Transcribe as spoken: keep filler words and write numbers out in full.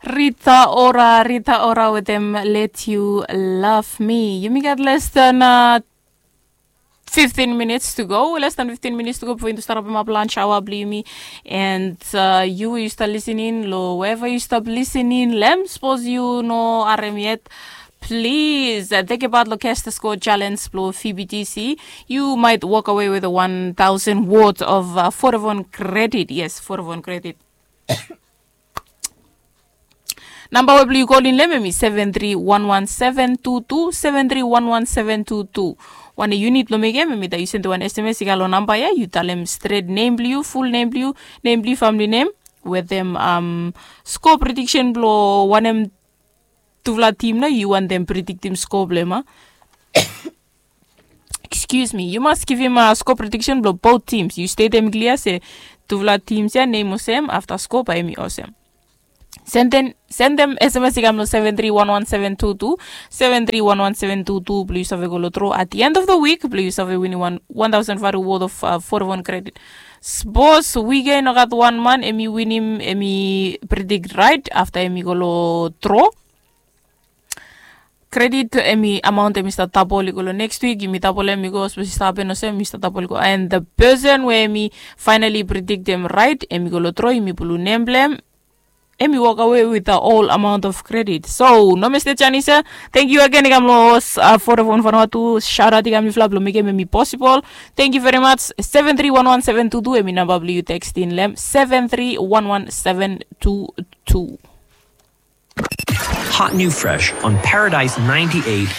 Rita Ora, Rita Ora wetem Let You Love Me. Yumi gat less than uh, fifteen minutes to go. Less than fifteen minutes to go before yumi start up up lunch hour blong yumi. And uh, yu yu start listening lo wherever yu start listening lem, suppose yu no harem yet. Please uh, take about lo cash the score challenge blo P B T C. You might walk away with a one thousand worth of uh, Vodafone credit. Yes, Vodafone credit. Namba we blong yu kolin lo hem hemi seven three one one seven two two, seven three one one seven two two. Wan unit lo mekem hemi that yu send wan S M S i gat lo namba ya, yu talem stret nem blong yu, full nem blong yu, nem blong yu, family nem, wetem um, score prediction blo wanem tufala tim na yu wantem prediktim score blo hem a. Excuse me, yu mas givim uh, score prediction blo both teams. Yu statem klia se tufala teams ya nem olsem, afta score bae hemi olsem. Send them, send them S M S i kam lo seven three one one seven two two, seven three one one seven two two blong yu save go lo draw at the end of the week blong yu save winim wan one thousand value worth of uh, Vodafone credit. Suppose weekend i gat wan man hemi winim, hemi predict right afta hemi go lo draw. Credit hemi amount hemi start double i go lo next week, yumi double hem i go, suppose i start happen olsem, yumi start double i go. And the person we hemi finally predict hem right, hemi go lo draw, yumi pulum nem blong hem, hemi walk away with the whole amount of credit. So no mistake, Janisa. Thank you again i kam lo uh, Vodafone Vanuatu. Shout out i kam lo yufala blo mekem hemi possible. Thank you very much. Seven three one one seven two two hemi namba blong yu texting lo hem, seven three one one seven two two. Hot new fresh on Paradise ninety-eight.